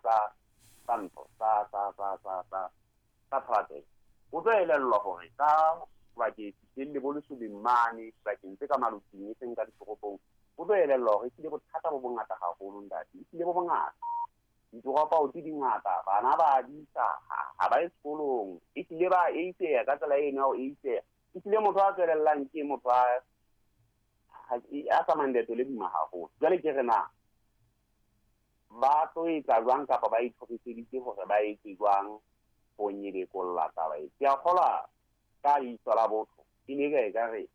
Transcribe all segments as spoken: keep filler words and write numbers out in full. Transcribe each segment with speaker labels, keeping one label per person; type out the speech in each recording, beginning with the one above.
Speaker 1: sa sa ntho sa sa sa sa sa sa thapelo. O tlo elellwa hore ka bakeng le bo Lesobeng mane bakeng tse ka maloting e seng ka ditoropong, o tlo elellwa hore ehlile bothata bo bongata haholo ntate, ehlile bo bongata. Ditoropo di dingata, bana ba disa ha ba ye sekolong, ehlile ba eiseha ka tsela eno ya ho eiseha. Ehlile motho a tswelellang ke motho a a tsamayang leeto le boima haholo. Jwale ke re na ba tlo etsa jwang kapa ba itlhokiseditse hore ba etse jwang ho nyebekolla taba e? Ke a kgolwa ka leihlo la botho e ne e ka re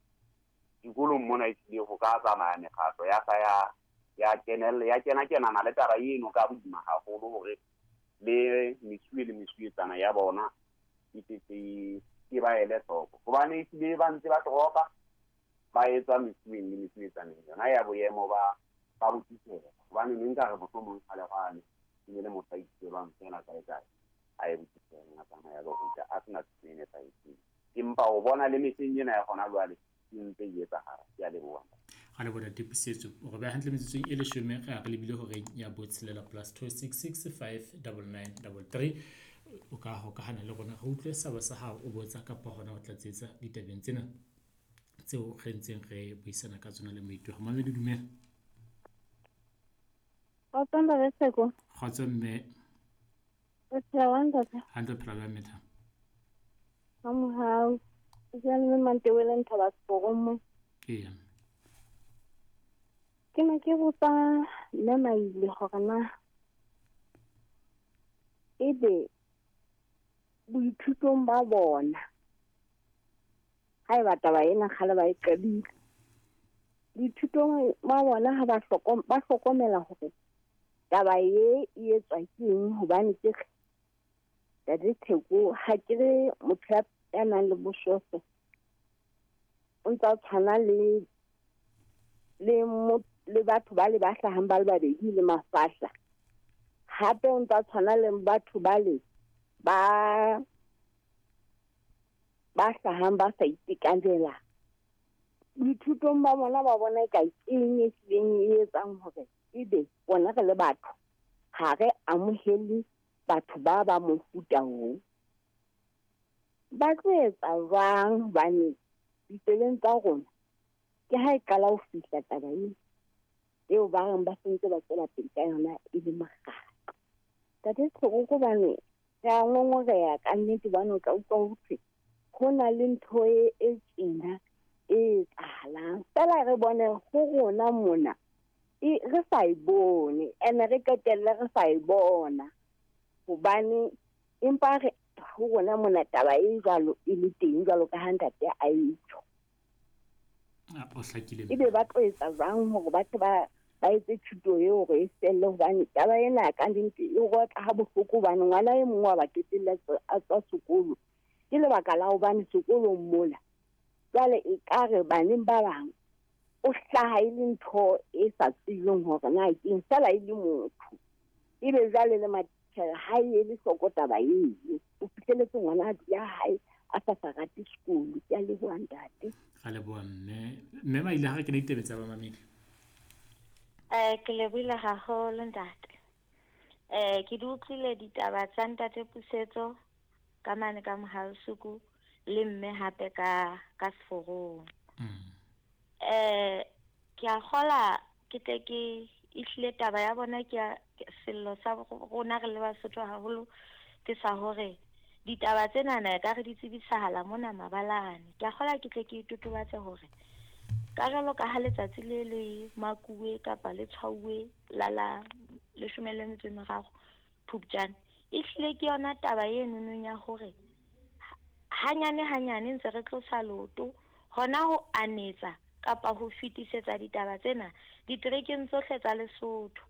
Speaker 1: dikolong mona ehlile ho ka tsamaya mekgatlo ya sa ya ya kenella ya kena kenana le taba eno ka boima haholo hore le mesuwe le mesuwetsana ya bona e tletse ke ba ele hloko, hobane ehlile ba ntse ba toropa ba etsa mesuweng le mesuwetsaneng yona ya boemo ba ba botitjhere. Hobane ne nka re mohlomong kgale kgale e ne le motho a itsebang feela kae kae a ye botitjhereng a tsamaya a lo ruta a sena thuto e nepahetseng, empa o bona le mehleng ena ya hona jwale e ntse e etsahala. Ke a leboha.
Speaker 2: Ga leboha Tipisetso. O re beha hantle metsotsong e leshome re a re lebile horeng ya botshelela plus two six six five double nine double three. O ka hokahana le rona re utlwe saba sa hao o botsa kapa hona ho tlatsetsa ditabeng tsena tseo re ntseng re buisana ka tsona le moithuti. Mamedi, dumela.
Speaker 3: Kgotso ntate Tseko.
Speaker 2: Kgotso mme.
Speaker 3: O phela jwang ntate?
Speaker 2: Hantle, phela jwang metha?
Speaker 3: Ha mohau. Ke bua le Mantewele Nthaba Seporong mo.
Speaker 2: Eya.
Speaker 3: Ke ne ke botsa mme Maile hore na ebe boithutong ba bona haeba taba ena kgale ba e qadile, boithutong ba bona ha ba hlokom-, ba hlokomela hore taba e e etswa ke eng, hobane ke re Ntate Theko ha ke re motho ya, ya nang le boshofe o ntsa tshwana le, le mo, le batho ba le ba hlahang ba le babedi le mafahla, hape o ntsa tshwana le batho ba le ba, ba hlahang ba sa itekanela. Boithutong ba bona ba bona eka ke eng e hlileng e etsang hore ebe bona re le batho ha re amohele batho ba ba mofuta oo. Ba tlo etsa jwang hobane ditseleng tsa rona ke ha e qala ho fihla taba ena eo ba reng ba sentse ba tswela pele ka yona e le mokgatlo. Ntate Theko, hobane re a ngongoreha ka nnete, hobane o tla utlwa ho thwe ho na le ntho e, e tjena e etsahalang, feela re bone ho rona mona e, re sa e bone, ene re qetelle re sa e bona, hobane empa re ho rona mona taba e jwalo e le teng jwalo ka ha ntate a e tjho.
Speaker 2: Ah, o hlakile.
Speaker 3: Ebe ba tlo etsa jwang hore ba tle ba, ba etse thuto eo hore e felle, hobane taba ena ka nnete e rotla ha bohloko, hobane ngwana e mong wa ba qetella a tswa sekolo ke lebaka la hobane sekolong mola jwale e ka re baneng ba bang o hlaha e le ntho e sa tsebeng hore na ke eng, feela e le motho. Ebe jwale le matitjhere ha e ele hloko taba eo, o fihlelletse ngwana a dula hae a sa sa rate sekolo. Ke a leboha ntate.
Speaker 2: Ra leboha mme. Mme Maile, ha re kene ditaba tsa bamamedi.
Speaker 4: Eh, ke lebohile haholo ntate. Eh, ke di utlwile ditaba tsa ntate Pusetso ka mane ka Mohalesuku le mme hape ka, ka Seforong.
Speaker 2: Mm.
Speaker 4: Eh, ke a kgola ke tle ke ehlile taba ya bona ke ya sello sa rona re le Basotho haholo ke sa hore ditaba tsena na ka re di tsebisahala mona mabalane. Ke a kgola ke tle ke itotobatse hore ka jwalo ka ha letsatsi le le makuwe kapa le tshwauwe la la leshome le metso e meraro Phupjane, ehlile ke yona taba e nonong ya hore hanyane hanyane ntse re tlosa leoto hona ho anetsa kapa ho fetisetsa ditaba tsena diterekeng tsohle tsa Lesotho.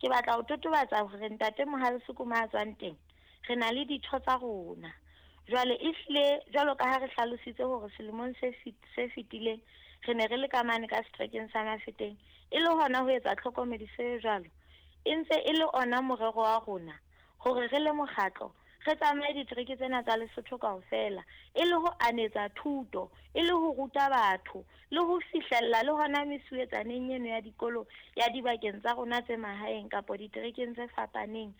Speaker 4: Ke batla ho totobatsa hore ntate Mohalesuku ma tswang teng re na le ditho tsa rona. Jwale ehlile jwalo ka ha re hlalositse hore selemong se fit-, se fetileng re ne re le ka mane ka seterekeng sa Mafeteng, e le hona ho etsa tlhokomediso e jwalo. E ntse e le ona morero wa rona hore re le mokgatlo re tsamaye ditereke tsena tsa Lesotho kaofela, e le ho anetsa thuto, e le ho ruta batho, le ho fihlella le hona mesuwetsaneng eno ya dikolo ya dibakeng tsa rona tse mahaeng kapa diterekeng tse fapaneng,